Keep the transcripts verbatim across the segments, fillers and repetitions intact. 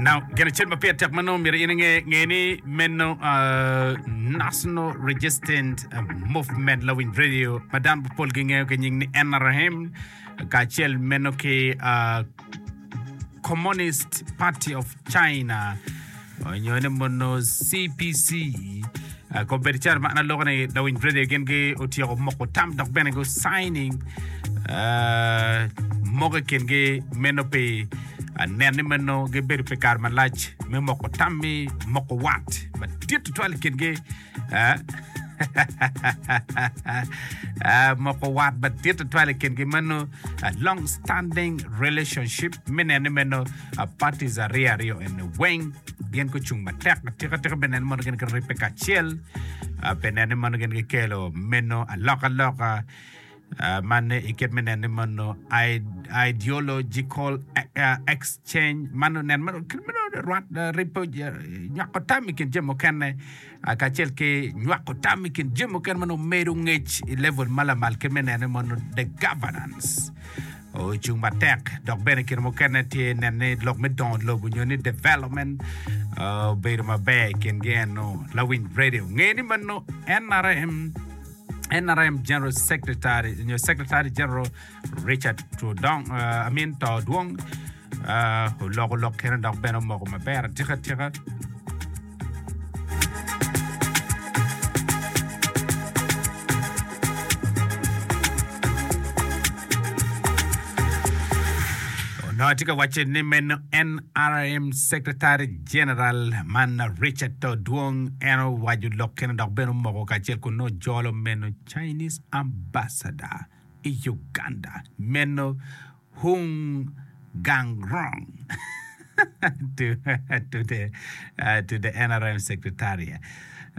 Now, gin acel ma pire tek ma nongo myero in inge nge ni meno uh, National Resistance Movement Lawiny Radio ma dano mapol gingeyo ki nying ni N R M kacel meno ki uh, Communist Party of China onyo ni mono C P C. uh, kobedo calo ma an aloko ni Lawiny Radio gin gi otyeko moko tam dok bene go signing uh, moko i kingi meno pi uh, nen ni meno gibedo pi kare malac me moko tam mi moko wat madit tutwal i kingi uh, uh, moko wat madit tutwal i kingi meno uh, long standing relationship me neno ni meno uh, parties aryo aryo eni weng gin gucung matek atika tika be neno mono gin giribbe kacel uh, be neno ni mono gin gikelo meno alokaloka uh, man i kit me neno ni mono ideological uh, exchange mano nen mano meno rwat uh, ripo uh, nywako tam i kin jami mukene uh, kacel ki nywako tam i kin jami mukene mano medo ngec i level ma lamal kit me neno ni mono the governance ocung matek dok bene kine mukene tye neno ni lok me dongo lobo nyo ni development uh, obedo maber i kingi eno. Lawiny Radio nge ni mano N R M N R M General Secretary nyo Secretary General Richard Tudong uh, I mean Todwong uh, oloko lok kene dok bene omoko maber atika atika. Onongo atye ka waco ni meno N R M Secretary General man Richard Todwong en owaco lok kene dok bene omoko kacel kun nongo jolo meno Chinese Ambassador i Uganda meno Hung Gangrong to, to the uh, to the N R M Secretariat.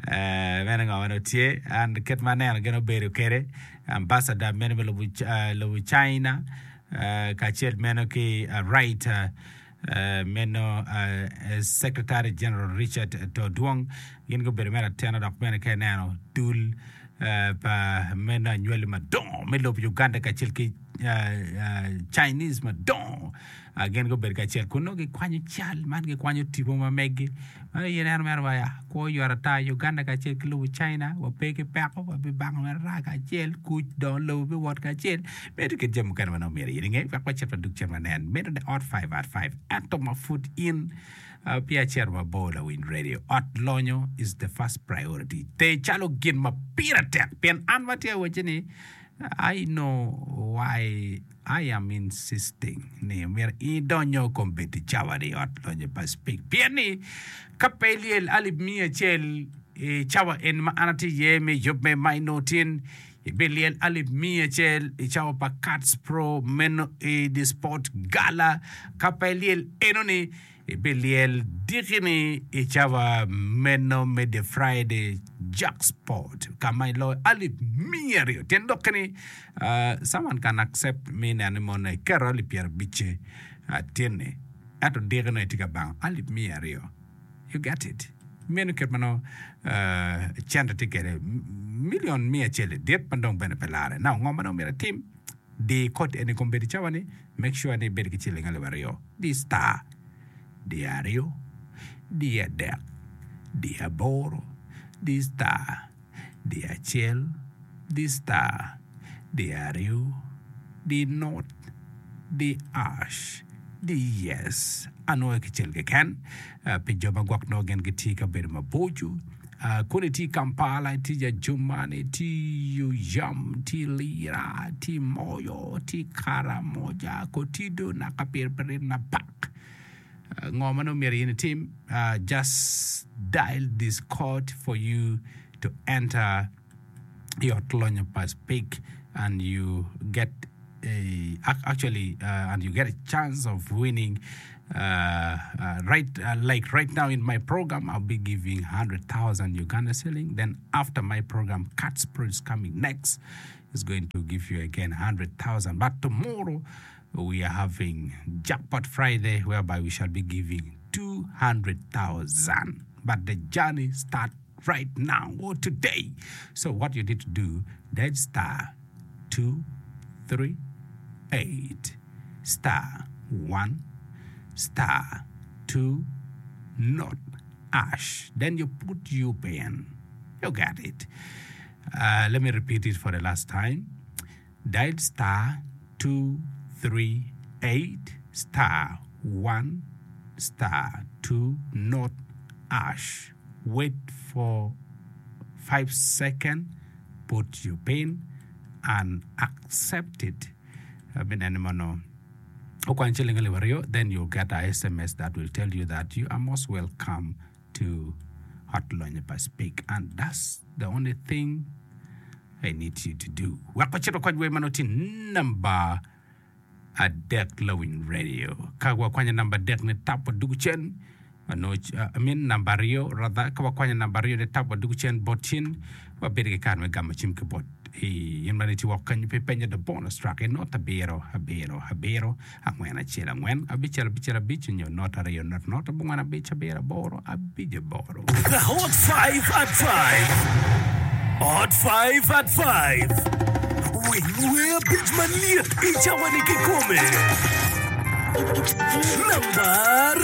Uh, meno ngo mano tye an kit ma aneno gin obedo kede ambassador meno me lobo, uh, lobo China uh, kacel meno ki uh, right uh, uh, meno uh, Secretary General Richard Todwong gin gubedo mere atena dok bene ka ineno dul uh, pa meno anywali madongo me lobo Uganda kacel ki uh, uh, Chinese madongo uh, gin gubedo kacel kun nongo gikwanyo cal man gikwanyo tipo ma megi mano in neno mere waya kwo yot ata Uganda kacel ki lobo China wape ki peko wabibango mere raa kacel kuc dongo lobo biwot kacel bedo kit jami mukene ma nongo myero in inge wek wacit wadug cen wanen medo ne ot five at five ento ma pud in uh, pi acito mabor. Lawiny Radio, ot lonyo is the first priority te calo gin ma pire tek pien an matye awaci ni I know why I am insisting ni myero idonyo kombeddi cawa ni ot lonyo pa Speke pien ni ka pe ilyel alip miya acel i cawa en ma an atye iye me yub me maino tin ibilyel alip miya acel i cawa pa Cats Pro meno i the sport gala ka pe ilyel enoni ibilyel dikini i cawa meno me the Friday jackpot kama iloyo alip miya aryo tyen dokkini uh, someone can accept me neno ni mono iketo alip pyerabicce uh, tinni ento dikino itye ka bango alip miya aryo. You get it? Meno kit ma nongo uh, cente tye kede million miya acel dit ma dong bene pe lare. Now ngo ma dong myero itim di kod eni kombeddi cawa ni make sure ni ibedo ki ciling alip aryo di star di aryo di adek di aboro di star di acel di star di aryo di not di hash di yes anwoyo kicel keken uh, pi jo ma gwok nongo gin gitye ka bedo maboco uh, kun itye Kampala itye Jajumani itye Oyam itye Lira itye Moyo itye Karamoja Kotido naka Pirpirin Napak uh, ngo ma nongo myero in itim uh, just dial this code for you to enter i ot lonyo pa Speke and you get a, actually uh, and you get a chance of winning uh, uh, right uh, like right now in my program I'll be giving one hundred thousand Uganda shilling. Then after my program, Cats Pro is coming next, is going to give you again one hundred thousand. But tomorrow we are having Jackpot Friday, whereby we shall be giving two hundred thousand. But the journey starts right now or today. So what you need to do, dial star two three eight star one star two not hash. Then you put your PIN. You got it. Uh, let me repeat it for the last time. Dial star two three eight star one star two not hash. Wait for five seconds. Put your PIN and accept it. I mean, no. Okwan ciling alip aryo, then you'll get a SMS that will tell you that you are most welcome to Ot Lonyo pa Speke. And that's the only thing I need you to do. Wek wacit wakwany wer ma nongo tye namba adek Lawiny Radio. Ka wakwanyo namba adek ni tap wadugu cen, wanongo, I mean namba aryo rather, ka wakwanyo namba aryo ni tap wadugu cen bot cin, wabedo ki kare me gamo cim ki bot i in ma itye woko kenyo pi penyo the bonus track i not abiro abiro abiro angwen acel angwen abicel abicel abic nyo not aryo not not abongwen abic abiro aboro abic aboro. The Hot Five at Five, Hot Five at Five, Winy wer abic malyet i cawa-ni kikome. Namba aryo.